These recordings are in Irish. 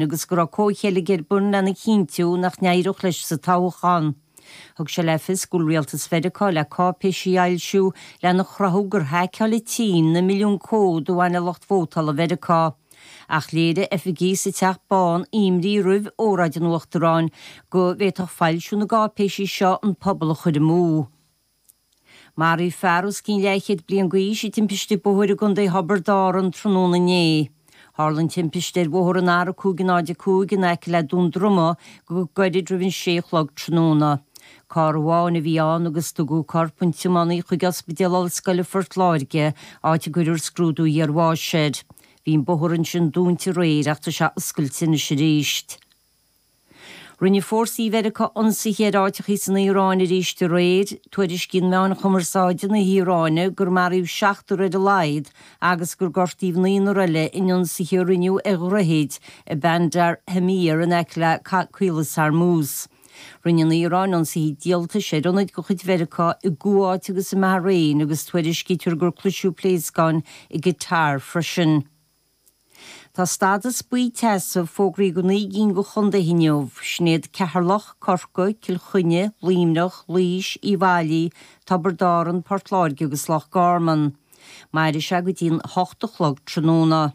Agus go raibh comhcheilg ar bun lena chinntiú nach n-éireodh leis sa toghchán. Thug sé le fios go bhfuil rialtas Mheiriceá le cáipéisí a fhoilsiú lena chruthú gur haiceáil an tSín na milliúin comhad a bhain le lucht vótála Mheiriceá. Ach léirigh oifigigh sa Teach Bán imní roimh óráid an Uachtaráin go bhféadfadh foilsiú na gcáipéisí seo an pobal a chur amú. Maraíodh fear os cionn leathchéad bliain d'aois i dtimpiste bóthair i gContae Thiobraid Árann tráthnóna inné. Tharla an timpiste ar bhóthar an R505 in aice le Dún Droma go gairid roimh an sé a chlog tráthnóna. Carr amháin a bhí ann agus tugadh corp an tiománaí chuig Ospidéal Ollscoile Phort Láirge, áit a gcuirfear scrúdú iarbháis air. Bhí an bóthar ansin dúnta aréir ach tá sé oscailte anois arís. Rinne fórsaí Mheiriceá ionsaithe ar áiteachaí san Iaráin arís aréir. Tuairiscíonn meáin chumarsáide na hIaráine gur maraíodh seachtar ar a laghad agus gur gortaíodh naonúr eile in ionsaithe a rinneadh ar dhroichid i Bandar Amir in aice le Caolas Hormuz. Rinne an Iaráin ionsaithe díoltais ar ionaid de chuid Mheiriceá i gCuáit agus i mBahrain agus tuairiscítear gur cloiseadh pléascáin i gCatar freisin. Tá stádas buí teasa fógraithe do 9 gcinn de chontaetha inniu, sin iad Ceatharlach, Corcaigh, Cill Chainnigh, Luimneach, Laois, Uíbh Fhailí, Tiobraid Árann, Port Láirge agus Loch Garman. Mairfidh sé go dtí an 8 a chlog tráthnóna.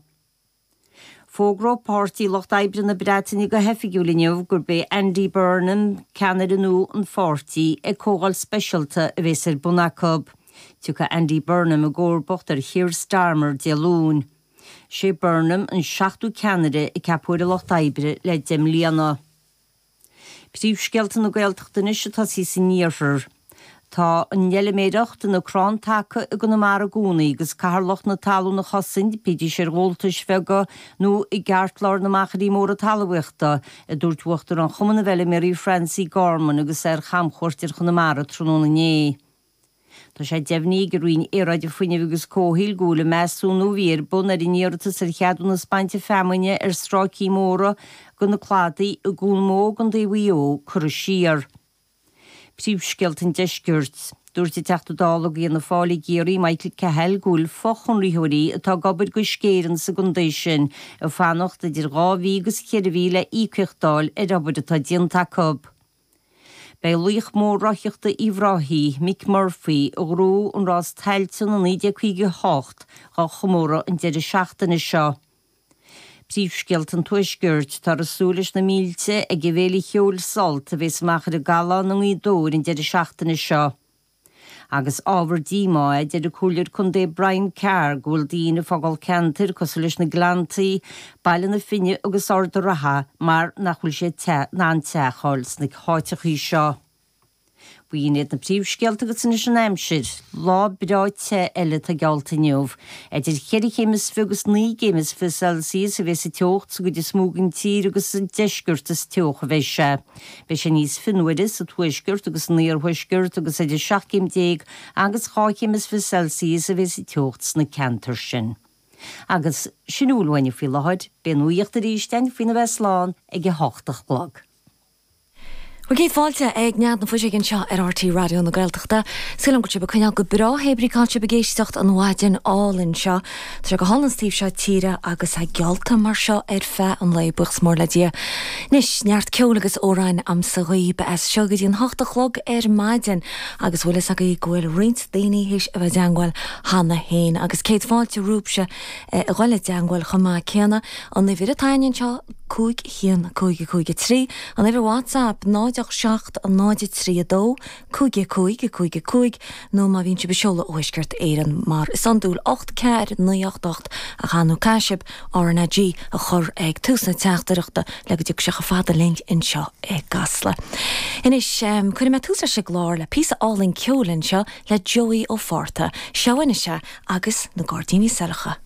Fógróidh Páirtí Lucht Oibre na Breataine go hoifigiúil inniu gurb é Andy Burnham ceannaire nua an pháirtí ag comhdháil speisialta a bheas ar bun acu. Tiocfaidh Andy Burnham i gcomharbacht ar Keir Starmer Dé Luain. Sé Burnham an seachtú ceannaire a ceapadh ar an Lucht Oibre le 10 mbliana. Príomhscéalta na Gaeltachta anois ag tosaí san iarthar. Tá an fheilméireacht ina crann taca i gConamara i gcónaí agus caithfear lucht na talún a chosaint, bídís ar ghabháltais bheaga nó i gceartlár na machairí móra talmhaíochta, a dúirt Uachtarán Chumann na bhFeilméaraí Francie Gorman agus é ar chamchuairt ar Chonamara tráthnóna inné. Tá sé deimhnithe ag an Roinn Aeráide, Fuinnimh agus Comhshaoil go bhfuil an measúnú a bhí ar bun ar an iarratas ar cheadúnas bainte feamainne ar stráicí móra de na cladaí i gCuan Mó i gContae Mhaigh Eo curtha siar. Príomhscéalta an Deiscirt. Dúirt an Teachta Dála do Fhianna Fáil i gCiarraí, Michael Cahill, go bhfuil fochonraitheoirí atá ag obair do Uisce Éireann sa gcontae sin ag fanacht idir 2 mhí agus 4 mhí le íocaíocht d'fháil ar obair atá déanta acu. Beidh laoch mór rothaíochta Uíbh Ráthaigh, Mick Murphy, a ghnóthaigh an rás Tailteann i 1958, dhá chomóradh an deireadh seachtaine seo. Príomhscéalta an Tuaiscirt, Táthar ag súil leis na mílte ag an bhféile cheoil Sult a bheas amach ar an gCallán i nGaoth Dobhair an deireadh seachtaine seo. Agus ábhar díomá é, a deir an Comhairleoir Contae Brian Carr, go bhfuil daoine ag fágáil ceantair cosúil leis na Gleanntaí, Baile na Finne agus Ard a' Ratha mar nach bhfuil siad in ann teach a fháil sna háiteachaí seo. B'in iad na príomhscéalta agus anois an aimsir. Lá breá te eile atá geallta inniu. Idir cheithre chéim is fi agus 9 gcéim is fi Celsius a bheas an teocht sa gcuid is mó den tír agus sa deisceart is teocha a bheidh sé. Beidh sé níos fionnuaire sa tuaisceart agus san iarthuaisceart agus idir 17 céim agus 12 chéim is fi Celsius a bheas an teocht sna ceantair sin. Agus sin a bhfuil uainne faoi láthair. Beidh an nuacht arís againn faoina bheith slán ag a hocht a chlog. Bhuel, céad fáilte ag Nead na Fuiseoige anseo ar RTÉ Raidió na Gaeltachta. Súil agam go bhfuil sibh ag coinneáil go breá hé brí cá bhfuil sibh ag éisteacht an mhaidin álainn seo. Tá sé go hálainn sa taobh seo tíre agus é geallta mar seo ar feadh an lae, buíochas mór le Dia. Anois, neart ceoil agus amhráin a'msa dhaoib as seo go dtí an hocht a chlog ar maidin agus bhfuil fhios agaibh go bhfuil roinnt daoine théis a bheith i dteangmháil cheana féin agus céad fáilte romhaibhse a ghoil i dteangmháil chomh maith céanna. An uimhir atá againn anseo, 5 1 5 5 3, an uimhir WhatsApp, 0 8 7 0 3 2 5 5 5 5, nó má bhíonn sibh ag seoladh ó Thuaisceart Éireann, mar is iondúil, 8 4 9 8 8, ach ar ndóigh caithfidh sibh RnaG a chur ag tús na teachtaireachta le go dtiocfaidh sé chomh fada linn anseo i gCasla. Anois, cuirfidh mé tús leis an gclár le píosa álainn ceoil anseo le Joey Ó Fátharta. Seo anois é agus na Gairdíní Saileacha.